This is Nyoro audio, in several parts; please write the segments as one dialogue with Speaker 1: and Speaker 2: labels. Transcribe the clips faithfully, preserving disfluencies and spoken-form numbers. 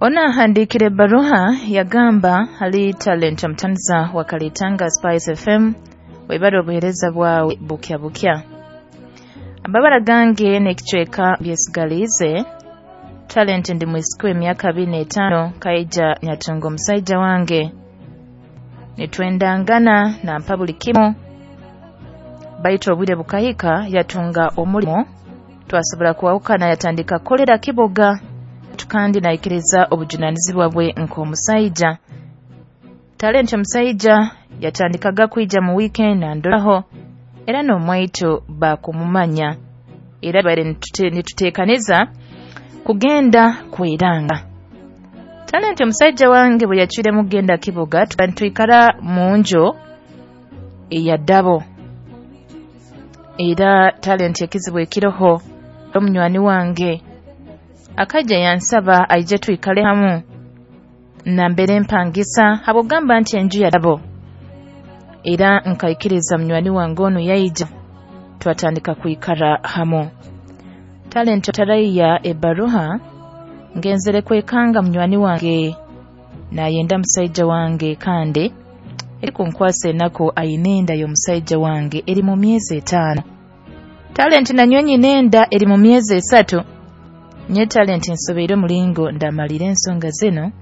Speaker 1: Ono ahandiikire ebbaruha yagamba hali Talent omutaniza wa Kalitanga Spice F M, webale obuheereza bwawe bukya bukya. Amabara gange n'ekicweka byesigaliize. Talent, ndi mwisiki w'emyaka abiri n'etaano, kaija nyatunga omusaija wange, nitwendangana, nampa buli kimu, baitu obwire bukahika yatunga omulimo, twasobora kwahukana, yatandika kukolera kibuga kandi naikiriza obujunaanizibwa bwe nk'omusaija. Talent, omusaija yatandikaga kwija mu weekend nandoraho, era n'omwaitu baakumumanya, era baire nituteekaniza kugenda kweranga. Talent, omusaija wange bwe yacwiremu kugenda kibuga, nitwikara mu nju eya double. Era Talent, ekizibu ekiroho, omunywani wange akaija yansaba aije twikale hamu nambere mpangisa, habw'okugamba nti enju ya double, era nkaikiriza munywani wange onu yaija, twatandika kwikara hamu. Talent, taraiya ebbaruha, ngenzere kwekanga munywani wange nayenda musaija wange, kandi erikunkwasa enaku, aine enda y'omusaija wange eri mu myezi etaano. Talent, nanywe nyina enda eri mu myezi esatu. Nye Talent, nsobeire omulingo ndamalire ensonga zinu,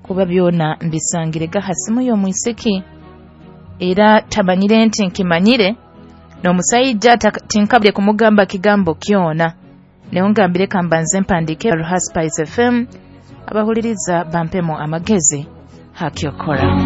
Speaker 1: kuba byona mbisangirega ha simu y'omwisiki, era tamanyire nti nkimanyire, n'omusaija tinkabire kumugamba kigambo kyona. Niho ngambire kambanze mpandiike Ruha Spice F M, abahuliriza bampemu amagezi hakyokora.